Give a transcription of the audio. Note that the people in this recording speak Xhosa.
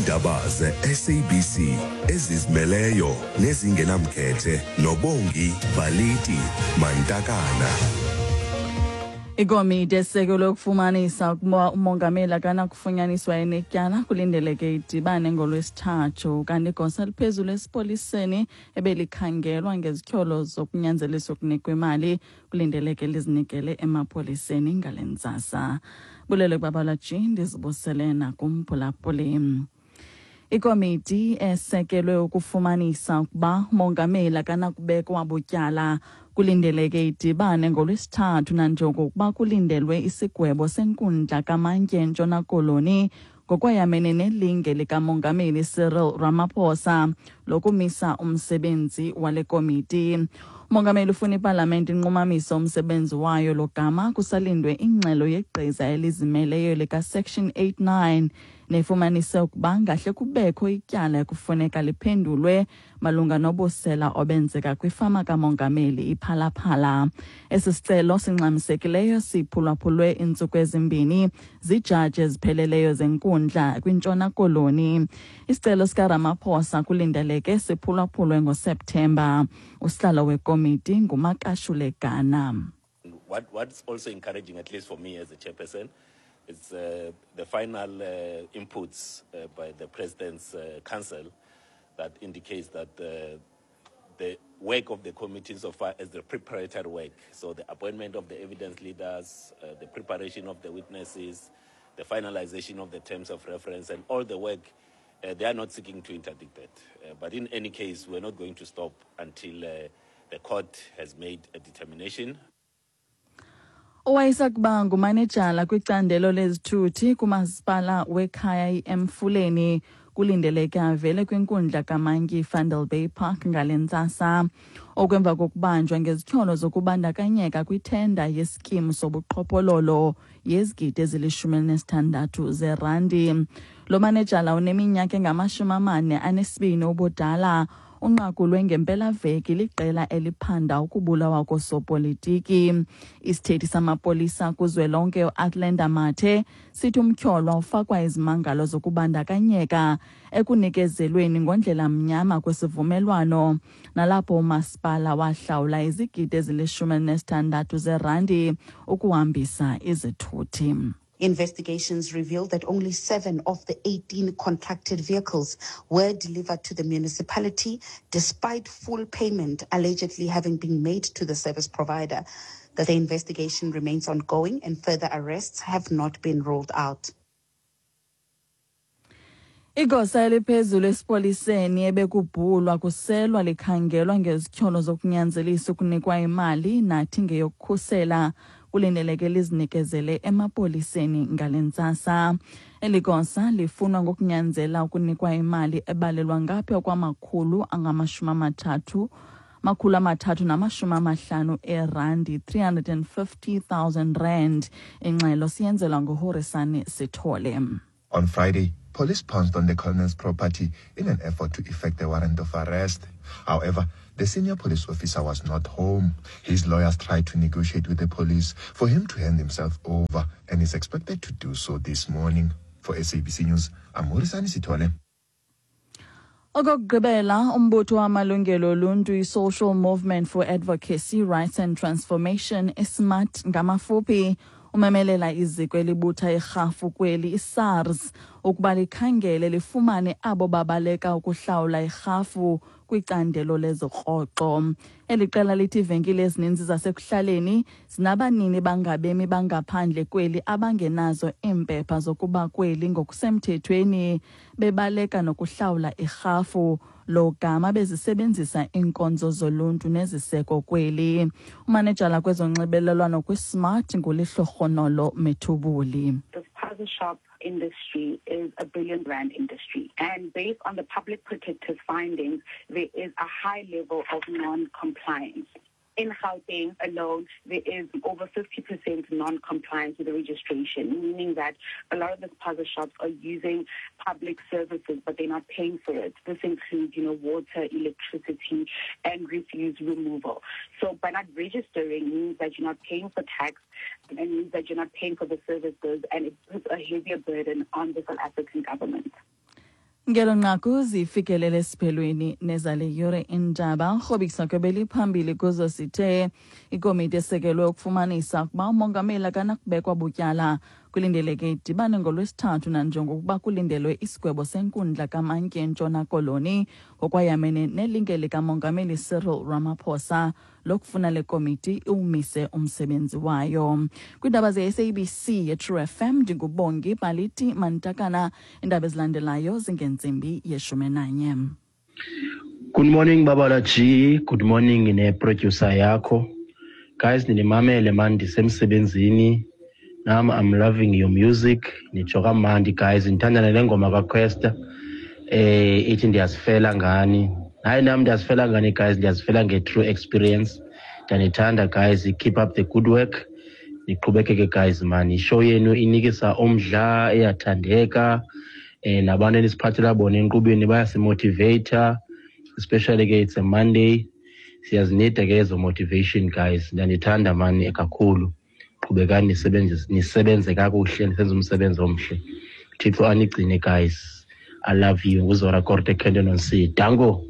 Iindaba ze-SABC ezizimeleyo nezingenamkhethe noBongi Baliti Mantakana. Ikomiti esekelwe ukufumanisa ukuba umongameli akanakufunyaniswa enetyala kulindeleke idibane ngolwesithathu, kanti igosa eliphezulu esipoliseni ebelikhangelwa ngezityholo zokunyanzelisa ukunikwa imali kulindeleke lizinikele emapoliseni ngale ntsasa. Bulele kubabalaji, ndizibusele nakumphulaphuli. Ikomiti esekelwe ukufumanisa ukuba umongameli akanakubekwa butyala kulindeleke idibane ngolwesithathu nanjengokuba kulindelwe isigwebo senkundla kamantyi eNtshona Koloni ngokwayamene nelinge likamongameli Cyril Ramaphosa lokumisa umsebenzi wale komiti. Umongameli ufuna ipalamente inqumamise umsebenzi wayo logama kusalindwe ingxelo yegqiza elizimeleyo lika-Section 89 nefumanise ukuba ngahle kubekho ityala ekufuneka liphendulwe malunga nobusela obenzeka kwifama kamongameli iPhalaphala. Esi sicelo singxamisekileyo siphulwaphulwe iintsuku ezimbini zijaji ezipheleleyo zenkundla kwiNtshona Koloni. Isicelo sikaRamaphosa kulindeleke siphulwaphulwe ngoSeptemba. Usihlalo wekomiti nguMakashule Gana. What's also encouraging, at least for me as a chairperson, is the final inputs by the President's Council that indicates that the work of the committee so far as the preparatory work, so the appointment of the evidence leaders, the preparation of the witnesses, the finalization of the terms of reference, and all the work, they are not seeking to interdict that. But in any case, we're not going to stop until the court has made a determination. Owayesakuba ngumanejala kwicandelo lezithuthi kumasipala wekhaya iEmfuleni kulindeleke avele kwinkundla kamantyi Vanderbijl Park ngale ntsasa, okwemva kokubanjwa ngezityholo zokubandakanyeka kwithenda yesikimu sobuqhophololo yezigidi ezili-16 zerandi. Lo manejala uneminyaka engama-42 ubudala unqakulwe ngempelaveki liqela eliphanda ukubulawa kosopolitiki. Isithethi samapolisa kuzwelonke uAthlenda Mathe sithi umtyholwa ufakwa izimangalo zokubandakanyeka ekunikezelweni ngondlela mnyama kwesivumelwano nalapho umasipala wahlawula izigidi ezili-16 zerandi ukuhambisa izithuthi. Investigations revealed that only 7 of the 18 contracted vehicles were delivered to the municipality, despite full payment allegedly having been made to the service provider. The investigation remains ongoing and further arrests have not been ruled out. Igosa eliphezulu esipoliseni ebekubhulwa kuselwa likhangelwa ngezityholo zokunyanzelisa ukunikwa imali nathi ngeyokukhusela kulindeleke lizinikezele emapoliseni ngale ntsasa. Eli gosa lifunwa ngokunyanzela ukunikwa imali ebalelwa ngaphaya kwamakhulu angama-30 350 erandi, 350,000 rand. Ingxelo siyenzelwa nguHorisani Sithole. On Friday, police pounced on the colonel's property in an effort to effect a warrant of arrest. However, the senior police officer was not home. His lawyers tried to negotiate with the police for him to hand himself over and is expected to do so this morning. For SABC News, I'm Horisani Sithole. Okokugqibela, umbutho wamalungelo oluntu i-Social Movement for Advocacy, Rights and Transformation, iSMART ngamafuphi, umemelela iziko elibutha irhafu kweli iSARS ukuba likhangele lifumane abo babaleka ukuhlawula irhafu kwicandelo lezorhoxo. Eli qela lithi iivenkile ezininzi zasekuhlaleni zinabanini bangabemi bangaphandle kweli abangenazo iimpepha zokuba kweli ngokusemthethweni, bebaleka nokuhlawula irhafu logama bezisebenzisa iinkonzo zoluntu neziseko kweli. Umanejala kwezonxibelelwano kwiSMART nguLehlohonolo Methubuli. The spaza shop industry is a billion rand industry, and based on the public protector's findings, there is a high level of non-compliance. In Gauteng alone, there is over 50% non-compliance with the registration, meaning that a lot of the spaza shops are using public services, but they're not paying for it. This includes, water, electricity, and refuse removal. So by not registering means that you're not paying for tax, and means that you're not paying for the services, and it puts a heavier burden on the South African government. Ngelo nqaku zifikelele esiphelweni nezale yure indaba. Rhobisa kwebeliphambili kuzo sithe ikomiti esekelwe ukufumanisa ukuba umongameli akanakubekwa butyala kulindeleke idibane ngoLwesithathu nanjengokuba kulindelwe isigwebo senkundla kamantyi eNtshona Koloni ngokwayamene nelinge likamongameli Cyril Ramaphosa lokufuna le komiti iwumise umsebenzi wayo. Kwiindaba ze-SABC yeTrue FM, ndinguBongi Baliti Mantakana. Iindaba ezilandelayo zingentsimbi yeshumi nanye. Good morning, Babala G. Good morning ne-producer yakho. Guys, ninimamele man, ndisemsebenzini. Nam I'm loving your music. Nitsho kamandi guys, ndithanda nale ngoma kaQuesta. Ithi "Ndiyazifela ngani". Hayi, nam ndiyazifela ngani guys, ndiyazifela nge-true experience. Ndiyanithanda guys, keep up the good work. Niqhubekeke guys man, ishow yenu inikisa umdla, iyathandeka. Nabantu enisiphathela bona enkqubeni bayasimotivata, especially ke it's a Monday, siyazinida ke ezo motivation guys. Ndiyanithanda mani kakhulu, qhubekani nisebenze, nisebenze kakuhle, nisenze umsebenzi omhle. Thixo anigcine guys, I love you. NguZora Korte, Kenton on C. Danko.